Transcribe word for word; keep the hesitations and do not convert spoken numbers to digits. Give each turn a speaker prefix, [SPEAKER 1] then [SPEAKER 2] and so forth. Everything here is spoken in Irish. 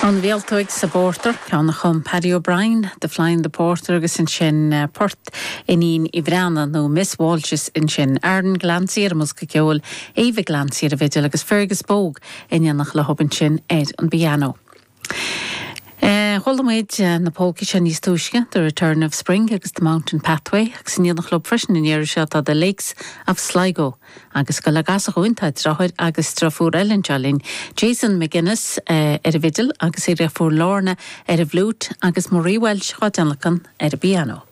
[SPEAKER 1] An Mhíoltóg sa bPortach ceann a chum Paddy O'Brien, The Fly in the Porter agus ansin uh, Port Iníon Uí Bhraonáin nó Miss Walsh's ansin Aaron Glancy ar an mbosca ceoil, Eva Glancy ar an bhfidil agus Fergus Bogue in éineacht leo ansin ar an bpianó. Uh, Chuala muid uh, na polcaí seo níos túisce, The Return of Spring agus The Mountain Pathway agus in éineacht leo freisin an iarraidh seo tá The Lakes of Sligo agus go le gasachúin tá deartháir agus deirfiúr eile anseo linn. Jason McGuinness uh, ar an bhfidil agus a dheirfiúr Lorna ar an bhfliúit agus Marie Welsh á tionlacan ar an bpianó.